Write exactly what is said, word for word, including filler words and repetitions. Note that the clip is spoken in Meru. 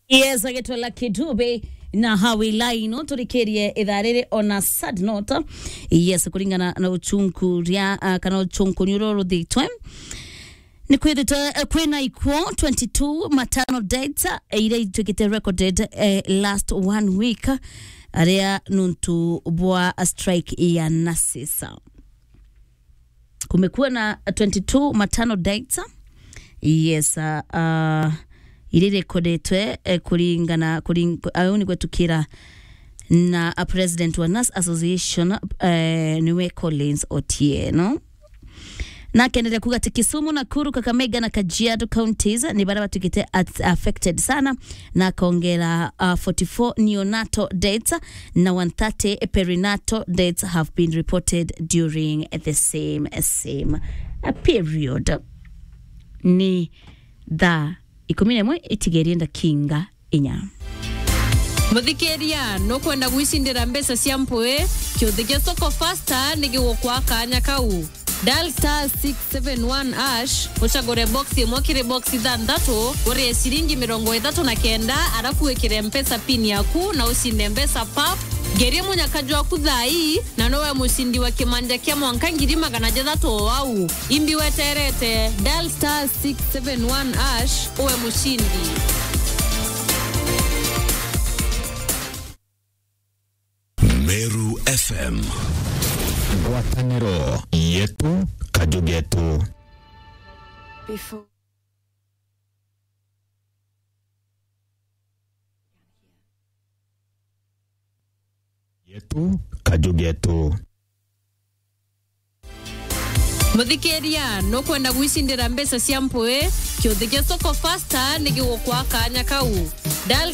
Yes, agitwa Lucky Dube na Hawi Laino, turikirie ithaa riri on a sad note. Yes, kuringana na uchunku ria, ah, kana uchunku ni uru ruthitwe. Ni kwithitwe, eh, kwina ikuo twenty-two maternal deaths, eh, iria itwikite recorded, eh, last one week, aria nuntu bwa strike ya nurses. Kumekuwa na twenty-two maternal deaths. Yes, uh, uh, iria irekodetwe, eh, kuringana, kuring-, au ni gwetukira na a president wa Nurse Association, eh, niwe Collins Otieno. Na akendelea kuga ati Kisumu, Nakuru, Kakamega na Kajiado counties ni baria batuikite at-, affected sana, na akongera, uh, forty-four neonatal deaths na one thirty perinatal deaths have been reported during the same, same, uh, period. Ni thaa ikumi na imwe itigerie ndakinga inya. Muthikiria, nukwenda gwicindira mbeca cia mpwi? Kiuthi gia Soko Fasta ni gigukwa kanya kau. Dial star six seven one hash, ucagure box imwe kiri box ithanthatu, urie ciringi mirongo ithatu na kenda, arafu wikire Mpesa pin yaku na ucinde mbeca pap. Ngeria munyaka jwaku thaa ii, na nowe mucindi wa kimanja kia mwanka ngiri magana jathatu o au. Imbi weterete, dial star six seven one hash, uwe mucindi. Meru F M. Ngwataniro yetu, kaju getu. Before yetu, kaju getu. Muthikiria, nukwenda gwicindira mbeca cia mpwi? Kiuthi gia Soko Fasta ni gigukwa kanya kau. Dial